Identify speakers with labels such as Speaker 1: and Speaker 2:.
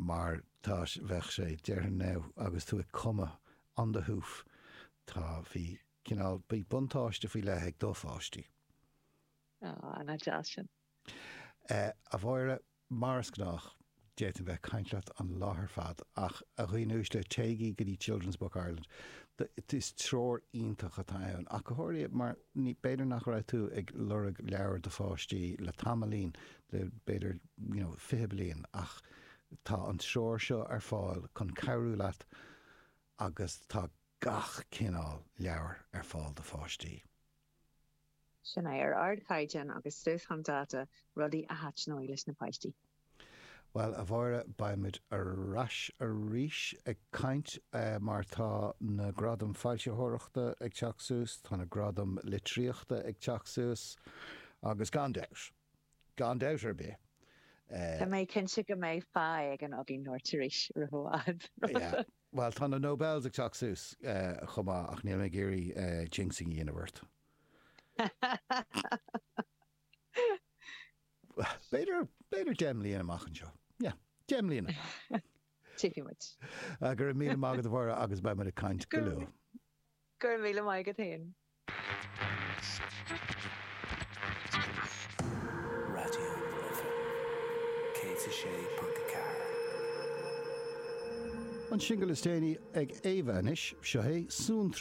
Speaker 1: Mar tá, bheadh sé, déarfainn now, agus tú ag cumadh on the hoof, tá, bhí cineál, bhí buntáiste faoi leith ag do pháistí.
Speaker 2: Á, ana-deas sin.
Speaker 1: A Mháire, mar is gnách, d'fhéadfainn bheith ag caint leat an lá ar fad, ach a dhaoine uaisle, téigí go dtí Children's Book Ireland. Is treoir iontach atá ann, ach go háirithe mar ní, b'fhéidir nach raibh tú ag lorg leabhar do pháistí le tamaillín, le b'fhéidir, you know, 20 bliain, ach tá an treoir seo ar fáil chun cabhrú leat agus tá gach cineál leabhar ar fáil do pháistí.
Speaker 2: Sin é, ar ardchaighdeán agus suas chun dáta, rudaí a thaitneoidh leis na páistí.
Speaker 1: Bhuel, a Mháire, beimid ar ais arís ag caint mar tá na Gradaim Foilsitheoireachta ag teacht suas, tá na Gradaim Litríochta ag teacht suas agus gan dabht, gan dabht ar bith,
Speaker 2: Tá mé cinnte go mbeidh fáth éigin againn labhairt arís roimh i bhfad.
Speaker 1: Yeah. Bhuel, tá na Nobels ag teacht suas chomh maith ach níl mé ag iarraidh jinxing a dhéanamh ort. B'fhéidir, b'fhéidir 10 mbliana amach anseo. Yeah, 10 mbliana.
Speaker 2: Tífidh muid.
Speaker 1: Go raibh míle maith agat a Mháire agus beidh muid ag caint go luath.
Speaker 2: Go raibh míle maith agat féin.
Speaker 3: Raidió na Life 106.4.
Speaker 1: An singil is déanaí ag Éabha anois, seo é Suantraí.